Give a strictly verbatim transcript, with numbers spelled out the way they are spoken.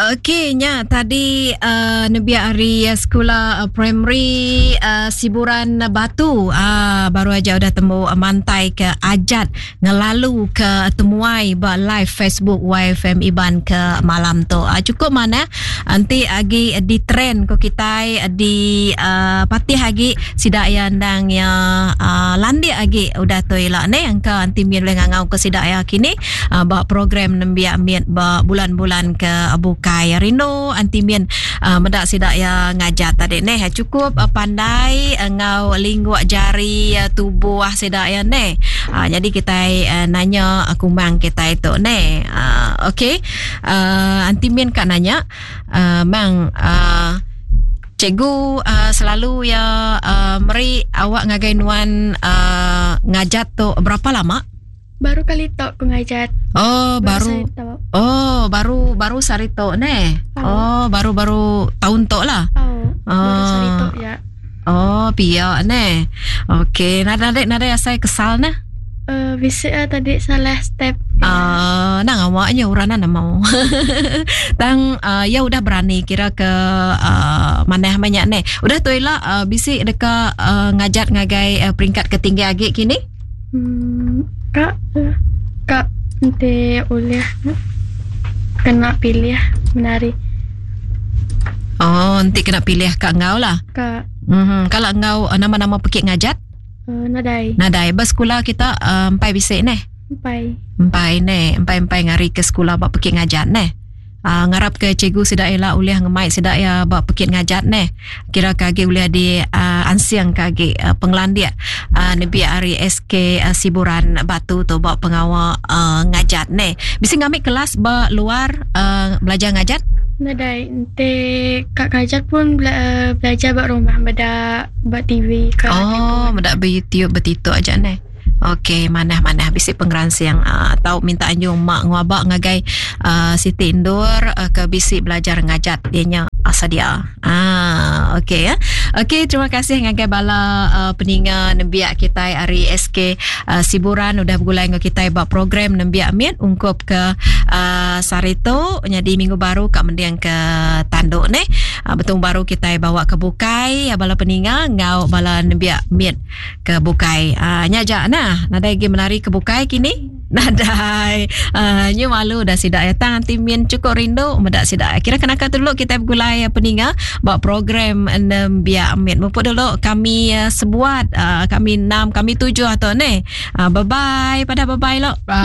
Okey nya tadi uh, nembiak ari sekula uh, primary uh, Siburan Batu uh, baru aja udah temu uh, mantai ke ajat ngelalu ke temuai ba live Facebook Y F M Iban ke malam tu. Uh, cukup mana nanti agi di trend ko kitai di uh, patih agi sidak ya ndang ya uh, landik agi udah tu ila ne angka anti min boleh ngangau ke sidak ya kini uh, ba program nembiak mit ba bulan-bulan ke buka kai rindu anti min uh, medak sidak ya ngajat tadi neh cukup uh, pandai ngau uh, lingguk jari uh, tubuh sidak ya neh uh, jadi kita uh, nanya uh, kumang kita itu neh uh, okey uh, anti min kak nanya uh, mang uh, cikgu uh, selalu ya uh, meri awak ngagai nuan uh, ngajat tu berapa lama? Baru kali tok ku ngajat. Oh, baru. baru oh, baru baru sari tok ne. Oh, oh baru-baru tahun tok lah. Oh, oh. Baru sari tok ya. Oh, pia ne. Okey, nada nada nada asai kesal ne. Uh, bisa uh, tadi salah step. Ah, uh, nang awaknya urana nak mau. Tang uh, ya udah berani kira ke uh, manah banyak ne. Udah tu ila uh, bisi deka uh, ngajat ngagai uh, peringkat ketinggi agi kini? Hmm. Kak, kak nanti oleh kena pilih menari. Oh, nanti kena pilih kak ngau lah. Kak. Mm-hmm. Kalau ngau nama-nama pekik ngajat? Uh, nadai. Nadai. Bersekolah kita uh, empai bisik neh. Empai. Empai neh, empai-empai ngari ke sekolah bak pekik ngajat neh. Uh, ngarap ke cikgu sidak ila ulih ngemai sidak ya bak pekit ngajat neh. Kira kagi ulih di uh, ansiang kagi uh, penglandia uh, nebi ari S K uh, Siburan Batu tu bak pengawa uh, ngajat neh. Bisa ngambil kelas ba luar uh, belajar ngajat? Nadai, ente kak ngajat pun bela- belajar bak rumah, beda bak T V ke. Oh, beda be YouTube betituk aja neh. Okey, manah-manah bisi pengransiang uh, atau minta anjung mak nguabak ngagai uh, Siti Indur uh, ke bisi belajar ngajat dianya asadia. Ah, okey ya. Okey, terima kasih ngagai bala uh, peninga nembiak kita ari S K uh, Siburan udah bergulai dengan kita bab program nembiak mit ungkup ke uh, Sarito jadi minggu baru kak mendiang ke tanduk ne. Uh, betung baru kita bawa ke bukai bala peninga ngau bala nembiak mit ke bukai. Uh, nyajak nah. Nadai lagi menari ke bukai kini. Nadai. Uh, nyu malu dah sidak ya. Tang anti min cukup rindu medak sidak. Kira kenaka dulu kita bergulai peninga buat program nembiak mit. Mumpuk dulu kami uh, sebuat uh, kami enam, kami tujuh atau ne. Uh, bye bye pada bye bye lo. Bye.